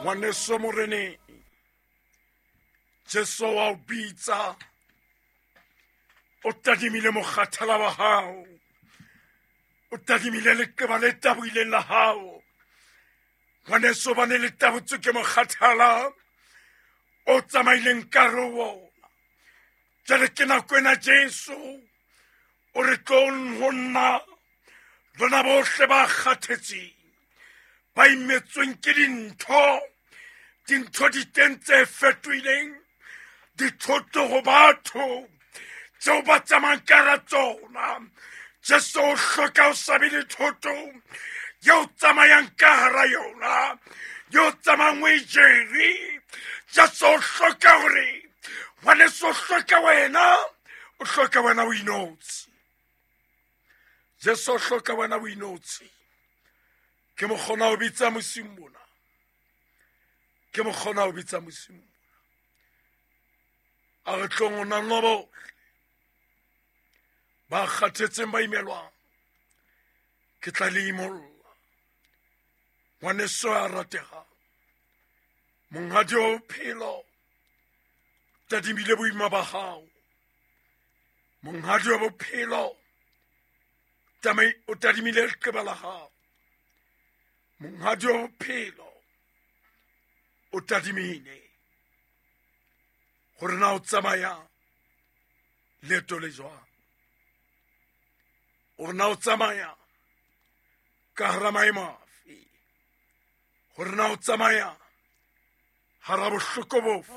Ngwaneso moreneng, Jesu wa o bitsa, o tadimile mokgathala wa hao, o tadimile leqeba le taboileng la hao. Ngwaneso, bane le tabotswe ke mokgathala o tsamaileng ka re wona. Jwale ke nako ena Jesu o re tlong ho nna, lona bohle ba kgathetseng, ba imetsweng ke dintho, dintho di teng tse fetohileng dithoto ho batho tseo ba tsamayang ka hara tsona. Jesu o hloka o sa be le thoto eo tsamayang ka hara yona, eo tsamayang o e jere. Jesu o hloka hore ngwaneso, o hloka wena, o hloka wena o inotshi. Jesu o hloka wena o inotshi. Ke mokgona ho bitsa mosing mona, ke mokgona ho bitsa mosing mona. A re tlong ho nna bohle ba kgathetseng, ba imelwang, ke tla le imolla. Ngwaneso ya rategang, monghadi wa bophelo tadimile boima ba hao. Monghadi wa bophelo o tadimile leqeba la hao. Monghadi wa bophelo o tadimile gore na o tsamaya leeto le jwang, gore na o tsamaya ka hara maemo afe, gore na o tsamaya hara bohloko bofe.